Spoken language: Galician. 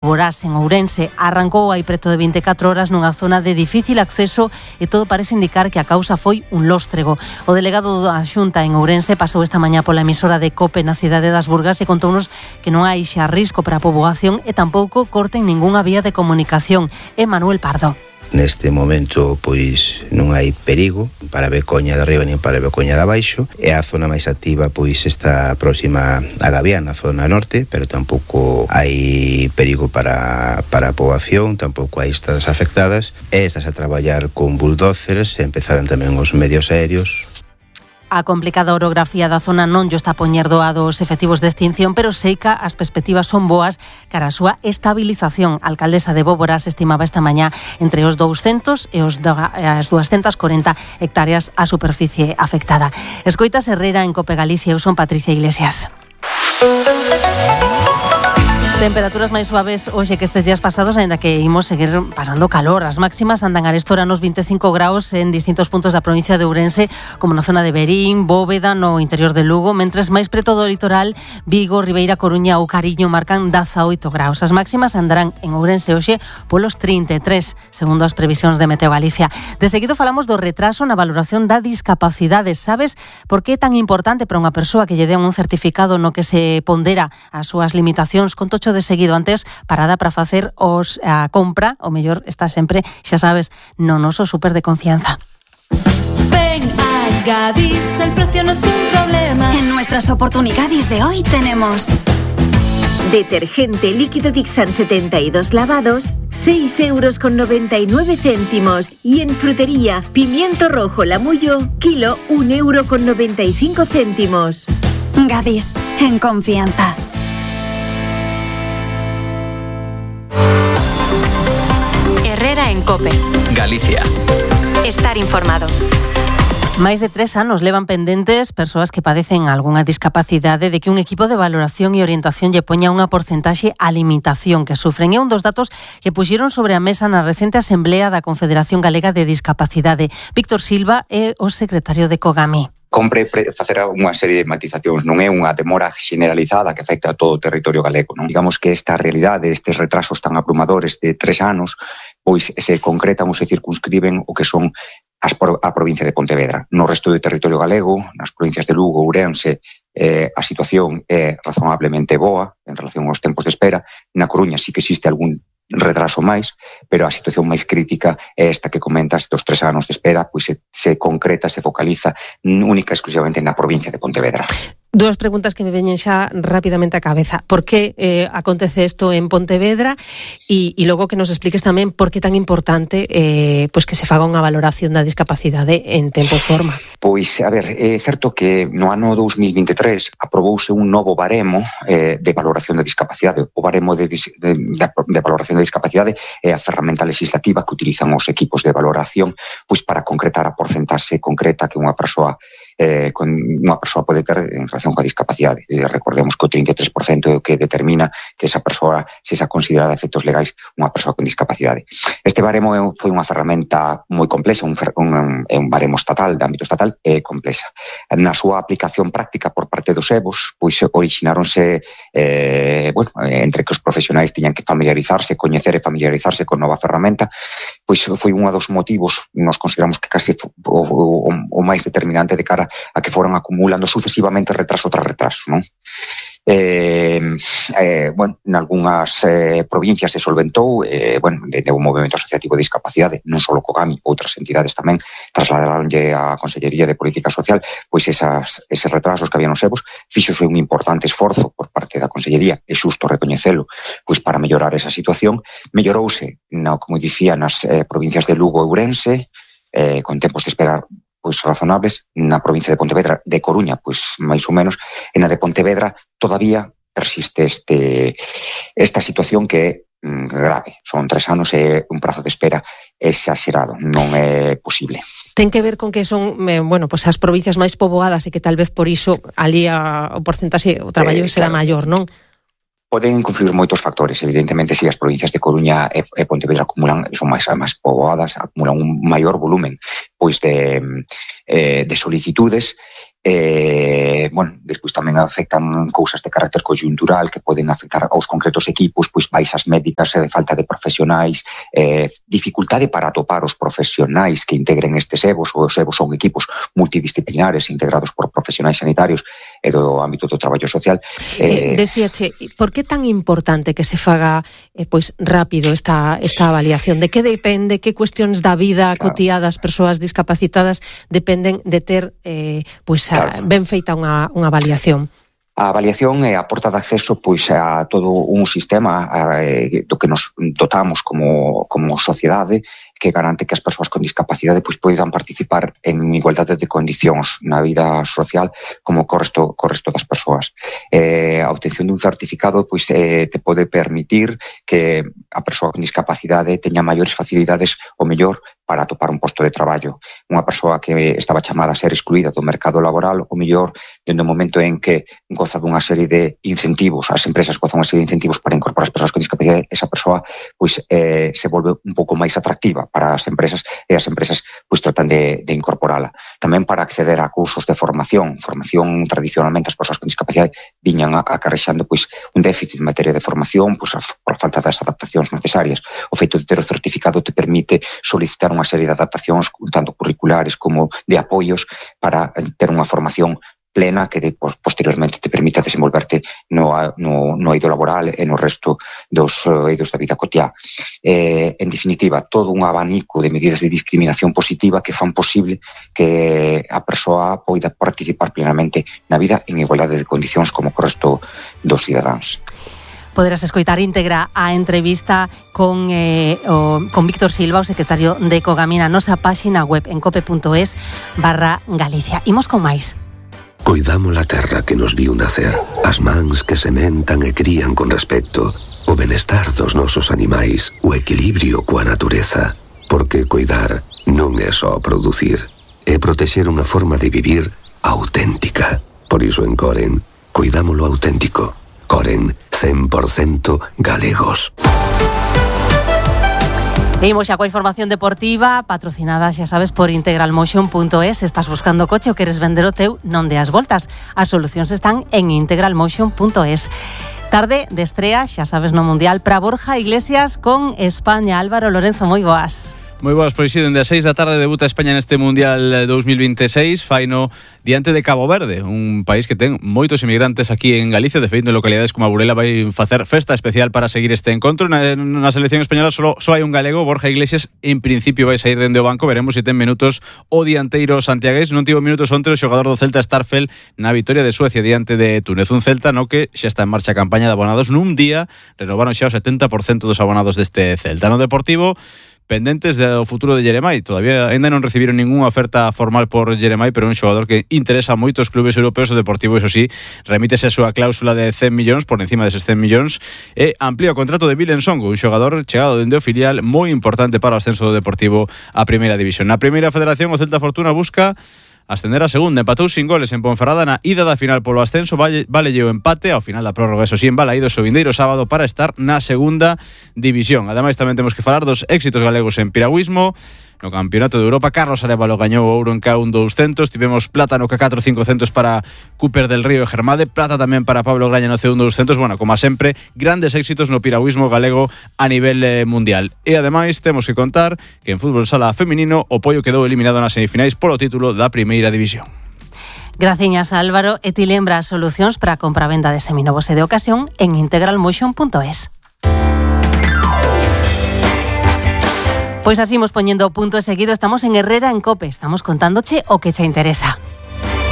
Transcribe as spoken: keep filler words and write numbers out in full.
Borás, en Ourense. Arrancou hai preto de vinte e catro horas nunha zona de difícil acceso e todo parece indicar que a causa foi un lóstrego. O delegado da Xunta en Ourense pasou esta mañá pola emisora de COPE na cidade das Burgas e contounos que non hai xa risco para a poboación e tampouco corten ningunha vía de comunicación. É Manuel Pardo. Neste momento, pois, non hai perigo para a Becoña de arriba nin para a Becoña de abaixo, e a zona máis activa, pois, está próxima a Gavián, na zona norte, pero tampouco hai perigo para, para a poboación, tampouco hai estradas afectadas, e estás a traballar con bulldozers, e empezaron tamén os medios aéreos. A complicada orografía da zona non llo está a poñer doado os efectivos de extinción, pero seica as perspectivas son boas cara a súa estabilización. A alcaldesa de Bóboras estimaba esta mañá entre os douscentos e os as doscientas corenta hectáreas a superficie afectada. Escoitas Herrera en Cope Galicia. Eu son Patricia Iglesias. Temperaturas máis suaves hoxe que estes días pasados, aínda que imos seguir pasando calor. As máximas andan arestora nos vinte e cinco graus en distintos puntos da provincia de Ourense, como na zona de Verín, Bóveda, no interior de Lugo, mentres máis preto do litoral, Vigo, Ribeira, Coruña ou Cariño marcan dezaoito graus. As máximas andarán en Ourense hoxe polos trinta e tres, segundo as previsións de Meteo Galicia. De seguido falamos do retraso na valoración da discapacidade. Sabes por que é tan importante para unha persoa que lle den un certificado no que se pondera as súas limitacións? Con tocho de seguido. Antes, parada para facer os a compra, o mellor está sempre, xa sabes, no noso súper de confianza. Ven a Gadis, el precio no es un problema. En nuestras oportunidades de hoy tenemos detergente líquido Dixan setenta y dos lavados, seis euros con noventa y nueve céntimos. Y en frutería, pimiento rojo Lamullo, kilo un euro con noventa y cinco céntimos. Gadis, en confianza. Herrera en Cope. Galicia. Estar informado. Máis de tres anos levan pendentes persoas que padecen algunha discapacidade de que un equipo de valoración e orientación lle poña unha porcentaxe á limitación que sufren. É un dos datos que puxeron sobre a mesa na recente asemblea da Confederación Galega de Discapacidade. Víctor Silva é o secretario de COGAMI. Compre facer unha serie de matizacións, non é unha demora generalizada que afecta a todo o territorio galego, non? Digamos que esta realidade, estes retrasos tan abrumadores de tres anos, pois se concretan ou se circunscriben o que son as por, a provincia de Pontevedra. No resto do territorio galego, nas provincias de Lugo, Ourense, eh, a situación é razonablemente boa en relación aos tempos de espera. Na Coruña sí que existe algún retraso máis, pero a situación máis crítica é esta que comentas dos tres anos de espera, pois se, se concreta, se focaliza única e exclusivamente na provincia de Pontevedra. Dúas preguntas que me veñen xa rapidamente á cabeza. Por que eh, acontece isto en Pontevedra? E, e logo que nos expliques tamén por que é tan importante eh, pois que se faga unha valoración da discapacidade en tempo e forma. Pois, a ver, é certo que no ano dous mil vinte e tres aprobouse un novo baremo eh, de valoración da discapacidade. O baremo de, de, de, de valoración da discapacidade é a ferramenta legislativa que utilizan os equipos de valoración pois para concretar a porcentaxe concreta que unha persoa Eh, con unha persoa pode ter en relación coa discapacidade. Eh, recordemos que o trinta e tres por cento é o que determina que esa persoa se xa considerada a efectos legais unha persoa con discapacidade. Este baremo é, foi unha ferramenta moi complexa, un, un, un baremo estatal, de ámbito estatal, é complexa. Na súa aplicación práctica por parte dos E V Os, pois orixináronse eh, bueno, entre que os profesionais tiñan que familiarizarse, coñecer e familiarizarse con nova ferramenta, pois foi un dos motivos, nos consideramos que casi o, o, o máis determinante de cara a que foron acumulando sucesivamente retraso tras retraso, non? Eh, eh, bueno, en algunhas eh, provincias se solventou, eh, bueno, de, de un movimento asociativo de discapacidade, non só COGAMI, outras entidades tamén trasladaronlle a Consellería de Política Social, pois esas, eses retrasos que había nos E V Os, fíxose un importante esforzo por parte da Consellería, é xusto recoñecelo, pois para mellorar esa situación. Mellorouse, no, como dicía, nas eh, provincias de Lugo e Ourense, eh, con tempos de esperar pois razonables, na provincia de Pontevedra, de Coruña, pois máis ou menos, e na de Pontevedra todavía persiste este esta situación que é mm, grave. Son tres anos e un prazo de espera exagerado, non é posible. Ten que ver con que son, eh, bueno, pues as provincias máis poboadas e que tal vez por iso ali a, o porcentaxe, o traballo eh, será claro. maior, non? Poden confluir moitos factores, evidentemente, se si as provincias de Coruña e, e Pontevedra acumulan, son máis, máis poboadas, acumulan un maior volumen pois de, eh, de solicitudes, Eh, bueno, despois tamén afectan cousas de carácter coyuntural que poden afectar aos concretos equipos, pois baixas médicas, eh, falta de profesionais, eh, dificultade para atopar os profesionais que integren estes EVOs. Os EVOs son equipos multidisciplinares integrados por profesionais sanitarios e do ámbito do traballo social. Eh, eh, Decíache, por que tan importante que se faga eh, pois rápido esta, esta avaliación? De que depende, que cuestións da vida claro. cotiá das persoas discapacitadas dependen de ter eh, pois claro. ben feita unha, unha avaliación? A avaliación é a porta de acceso pois a todo un sistema eh, do que nos dotamos como, como sociedade, que garante que as persoas con discapacidade pois poidan participar en igualdade de condicións na vida social como co resto, co resto das persoas. Eh, a obtención dun certificado pois eh, te pode permitir que a persoa con discapacidade teña maiores facilidades o mellor para atopar un posto de traballo. Unha persoa que estaba chamada a ser excluída do mercado laboral, o mellor, dende o momento en que goza dunha serie de incentivos, as empresas gozan unha serie de incentivos para incorporar as persoas con discapacidade, esa persoa pois eh, se volve un pouco máis atractiva para as empresas e as empresas pois tratan de, de incorporala. Tamén para acceder a cursos de formación, formación tradicionalmente as persoas con discapacidade viñan acarrexando pois un déficit en materia de formación pois por falta das adaptacións necesarias. O feito de ter o certificado te permite solicitar unha serie de adaptacións tanto curriculares como de apoios para ter unha formación plena que de, posteriormente te permita desenvolverte no, no, no eido laboral e no resto dos eidos da vida cotiá. Eh, en definitiva, todo un abanico de medidas de discriminación positiva que fan posible que a persoa poida participar plenamente na vida en igualdade de condicións como co resto dos cidadáns. Poderás escoitar íntegra a entrevista con, eh, o, con Víctor Silva, o secretario de Cogamina, nosa páxina web en cope punto es barra Galicia. Imos con máis. Coidamos a terra que nos viu nacer, as mans que sementan e crían con respecto, o benestar dos nosos animais, o equilibrio coa natureza, porque coidar non é só producir, é protexer unha forma de vivir auténtica. Por iso en Coren, coidámolo auténtico. Coren, cen por cento galegos. Imos xa coa información deportiva patrocinada, xa sabes, por integral motion punto es. Estás buscando coche ou queres vender o teu, non deas voltas. As solucións están en integral motion punto es. Tarde de estrea, xa sabes, no Mundial para Borja Iglesias con España. Álvaro Lorenzo, moi boas. Moi boas, pois si, dende as seis da tarde debuta España neste Mundial dous mil veintiséis, faino diante de Cabo Verde, un país que ten moitos inmigrantes aquí en Galicia. De feito, en localidades como a Burela vai facer festa especial para seguir este encontro. Na, na selección española só, só hai un galego, Borja Iglesias, en principio vai sair dende o banco, veremos se ten minutos o dianteiro santiagués. Non tivo minutos onte o xogador do Celta Starfel na vitoria de Suecia diante de Túnez, un Celta no que xa está en marcha a campaña de abonados. Nun día renovaron xa o setenta por cento dos abonados deste Celta. No Deportivo, pendentes do futuro de Jeremai. Todavía ainda non recibiron ningunha oferta formal por Jeremai, pero é un xogador que interesa a moitos clubes europeos. O Deportivo, iso sí, remítese a súa cláusula de cen millóns, por encima deses cen millóns, e amplía o contrato de Vilen Songo, un xogador chegado dende o filial moi importante para o ascenso do Deportivo a Primeira División. Na Primeira Federación, o Celta Fortuna busca ascender a segunda, empatou sin goles en Ponferrada na ida da final polo ascenso, vale, vale o empate ao final da prórroga, eso sí, en Balaídos o vindeiro sábado para estar na segunda división. Ademais, tamén temos que falar dos éxitos galegos en piragüismo. No Campeonato de Europa, Carlos Arévalo gañou o ouro en K un doscientos, tivemos plata no K catro cincocentos para Cooper del Río e Germade, plata tamén para Pablo Graña no C un doscientos. Bueno, como sempre, grandes éxitos no piragüismo galego a nivel eh, mundial. E ademais temos que contar que en fútbol sala feminino o Poio quedou eliminado nas semifinais polo título da Primeira División. Graciñas, Álvaro. E ti lembra as solucións para a compra-venda de seminovos e de ocasión en integral motion punto es. Pois así imos poñendo punto e seguido. Estamos en Herrera en Cope. Estamos contándoche o que che interesa.